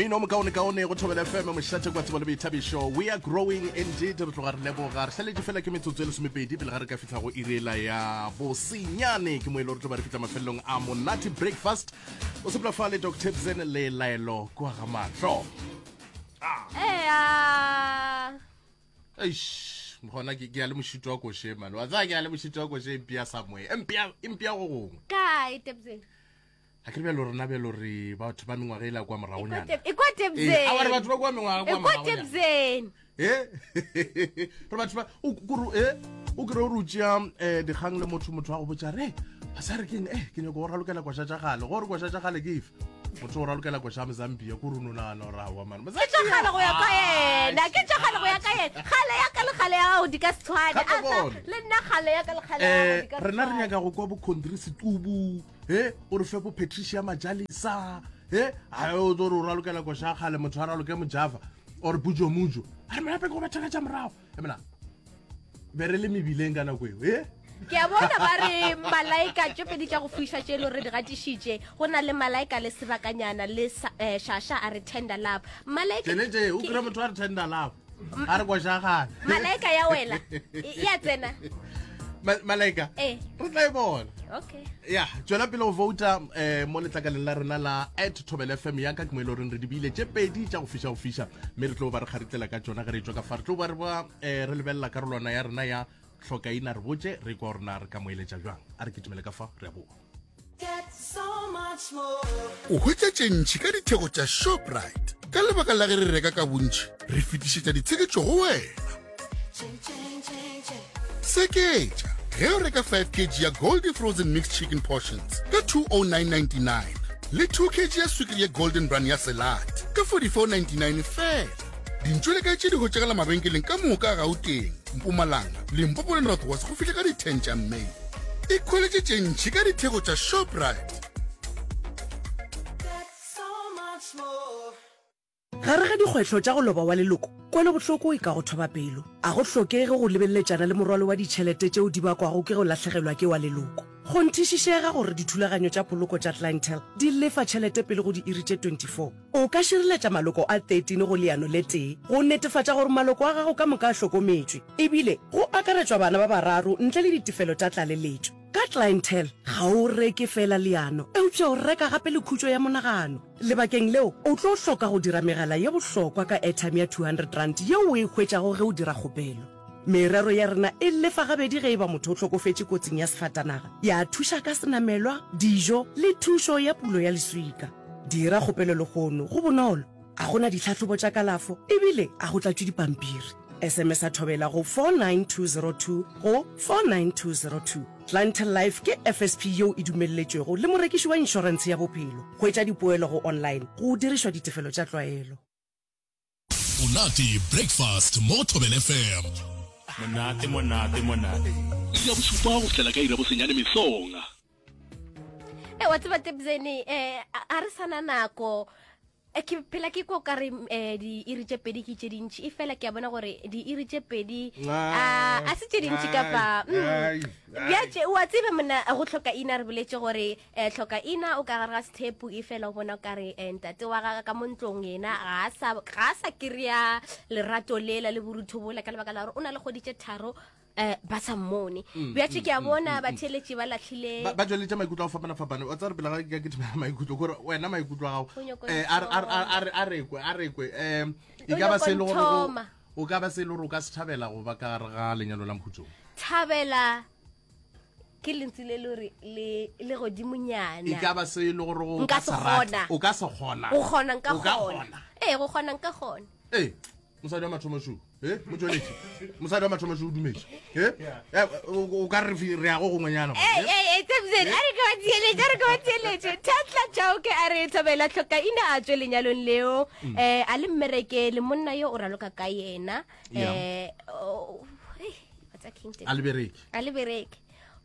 Mmino o mokaonekaone go Thobela FM, mošate kwa tsebo le boithabišo. We are growing indeed. Re tloga re leboga. Re šaletše fela ke metsotso e lesomepedi pele ga re ka fihla go iri ela ya bosenyane. Ke mo e le gore tlo ba re fihla mafelelong a monate breakfast. O sepela fa le Doc Tibson le Laelo kwa ga mahlo. Ea. Eish, gona ke ke ya le mošito wa koše man. Wa tsaya ke ya le mošito wa koše e mpea somewhere. E mpea e mpea go gongwe. Kae Tibson? A ke re bjalo rena bjalo re batho ba mengwaga e la kwa moragonyana. E kwa Ee, a wa re Tibson. batho ba kwa mengwaga kwa E kwa moragonyana. Tibson. Eh? Re batho ba o kuru eh o kere o re o tšea eh dikgang le motho motho wa go botša re a sa re keng eh ke nyako go ralokela koša tša gale gore koša tša gale ke efe motho o ralokela koša ya Mozambique ko re no nagana gore aowa man Ke tša kgale go ya ka yena. Ke tša kgale go ya ka yena. Kgale ya ka le kgale ya gago di ka se tshwane. Gape A sa- bona. Le nna kgale ya ka le kgale ya gago eh di ka se rena re tshwane. nyaka go kwa bo Condri Setubu he o re fe bo Patricia Majalisa he a o tlo re o ralokela koša ya kgale motho a raloke mojava or bujo mujo a re molape ke go betha ka tša morago e mona be re le mebileng ka nako eo e ke a bona ba re malaika tše pedi tša go fiša tše e le gore di gatišitše go na le malaika le sebakanyana le eh, shasha a re tender love malaika tšene tše o kry motho a re tender love a re koša gale malaika ya wela e ya tsena malaika eh. re tla e bona okay ya tswela pele go vouta um eh, mo letlakaleng la rena la at thobel fm ya ka ke mo e le goreng re dibile tše pedi tša go fiša go fiša mme re tlo ba re kgaritlela ka tšona ge re tswa ka fa re tlo ba re ba um re lebelela karolwana ya rena ya tlhokaina re botše re kwa gore na re ka mo eletša bjang a re kitimele ka fa re a boa O hwetša tše ntši ka ditheko tša Shoprite. Ka lebaka la ge re reka ka bontši, re fetišetša ditsheketšo go wena. Seketša ge o reka 5 kg ya Goldie Frozen Mixed Chicken Portions ka 209.99 le 2 kg ya swikiri ya Golden Bran ya Selate ka 44.99 fela. Dintšo le kae tše di hwetšagala mabenkeleng ka moka a Gauteng, Mpumalanga, Limpopo le North West go fihla ka di 10 tša May. Ikhweletše tše ntši ka ditheko tša Shoprite. Gare ga dikgwetlho tša go loba wa leloko, kwelobohloko e ka go thoba pelo. A go hlokege go lebeleletšana le morwalo wa ditšhelete tšeo di bakwago ke go lahlegelwa ke wa leloko. Kgonthišišega gore dithulaganyo tša poloko tša Clientele di lefa tšhelete pele go diiri tše 24. O ka šireletša maloko a 13 go leano le tee go netefatša gore maloko a gago ka moka a hlokometšwe, ebile go akaretšwa bana ba bararo ntle le ditefelo tša tlaleletšo. Ka Clientele, ga o reke feela leano, eupša o reka gape le khutšo ya monagano. Lebakeng leo, o tlo hloka go dira megala ye bohlokwa ka airtime ya R200 yeo o e hwetšago ge o dira kgopelo. Merero ya rena e lefa gabedi ge e ba motho o hlokofetše kotsing ya sefatanaga, ya thuša ka senamelwa, dijo le thušo ya pulo ya leswika. Dira kgopelo lehono, go bonolo, a go na ditlhahlobo tša kalafo ebile a go tlatšwe dipampiri. SMS-a Thobela go 49202 go 49202. Clientele Life ke FSP yeo e dumelletšwego le morekiši wa inšorentshe ya bophelo. Hwetša dipoelo go online go dirišwa ditefelo tša tlwaelo. Monate Breakfast mo go Thobela FM. Monate, monate, monate. Iri ya bošupa go fihlela ka iri ya bosenyane mesong. E wa tseba Tebzene eh a re sana nako eh, ke phela ke kwa kare eh, diiri tše pedi ke tše dintši e fela ke a bona gore diiri tše pedi a a se tše dintši kapa mm. bjatše wa tseba mona go hloka ina re boletše gore eh, hloka ina o ka gare ga sethepu e fela o bona o kare eh, ntate wa gagwe ka mo ntlong yena ga a sa ga a sa kry-a lerato lela le borutho bola ka lebaka la gore o na le kgwedi tše tharo eh ba sa mmone mm, bjatše mm, ke a mm, bona batheeletši ba latlhile ba tšweletša maikutlo a go fapana-fapana o tsa re pele ga ke ke maikutlo kore wena maikutlo a gago eh, a rekwe a rekwe um e ka ba se e le gore o ka ba se e le gore o ka se thabela go ba ka gare ga lenyalo la mokhutsong thabela ke lentsi le le gore le le godimonyana e ka ba se e le gore o ka se kgona o ka se kgona go kgona nka kgona ee go kgona nka kgona ee mosadi wa mathomo šo e motšweletši mosadi wa mathomo šo o dumetše e eh, o ka re re ya go gongwenyana a re ke ba theeletše a re ke ba theeletše thatla chauke a re thobela tlhoka ina a tswe lenyalong leo um a le mmereke le monna yo o raloka ka yena um a le bereke a le bereke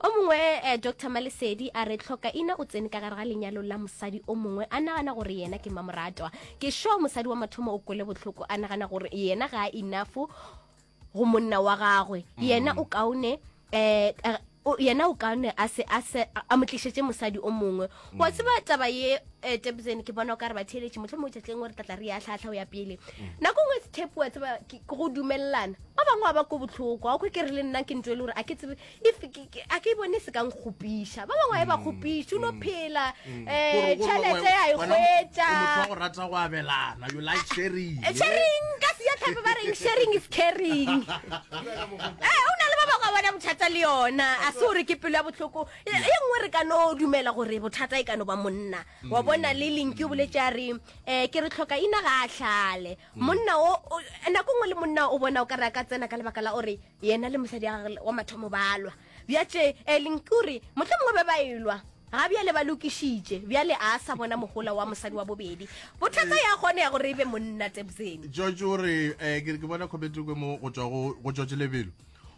O mongwe eh, Doctor Malesedi a re tlhoka ina o tsene ka gare ga lenyalo la mosadi o mongwe a nagana gore yena ke mamoratwa. Ke sure mosadi wa mathomo o kwele bohloko a nagana gore yena ga a enough go monna wa gagwe. Yena o kaone eh, eh. o, yena o kaone a se a se a mo tlišetše mosadi o mongwe. Wa tseba taba ye eh, Tebzen ke bona o ka re batheeletši mohlomongwe tšatši lengwe re tla tla re ya hlahla o ya pele. Nako nngwe sethepu wa tseba ke ke go dumelelana. Ba bangwe ba ba ko bohloko. Wa kwe ke re le nna ke ntho e le gore a ke tsebe if ke- ke- a ke bone se ka nkgopiša. Ba bangwe ba e ba kgopiše o no phela eh Gore- gore tšhelete ya e wena- hwetša. o motho wa go rata go abelana you like sharing Eh, sharing ka sejatlhapi ba reng sharing is caring Eh, o na le ba bangwe ba bona bothata le yona a se gore ke pelo ya bohloko ye ye nngwe re ka no dumela gore bothata e ka no ba monna wa bona le linki o boletse a re um ke re tlhoka ina ga a hlale monna o o- nako nngwe le monna o bona o ka re a ka tsena ka lebaka la gore yena le mosadi wa gagwe wa mathomo ba lwa bjatše um linki o re motlho mongwe be ba elwa Ga bjale ba lokišitše, bjale a sa bona mohola wa mosadi wa bobedi. Bothata ya gone ya gore e be monna Tebzeni. George o re eh, ke ke bona comment kwe mo go tšwa go go George Lebelo.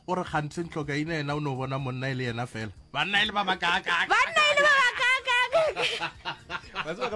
O re kganthe Ntlhokaina yena o no bona monna e le yena fela. Banna e le ba bakaaka. Banna e le ba bakaaka. Wa tseba ka.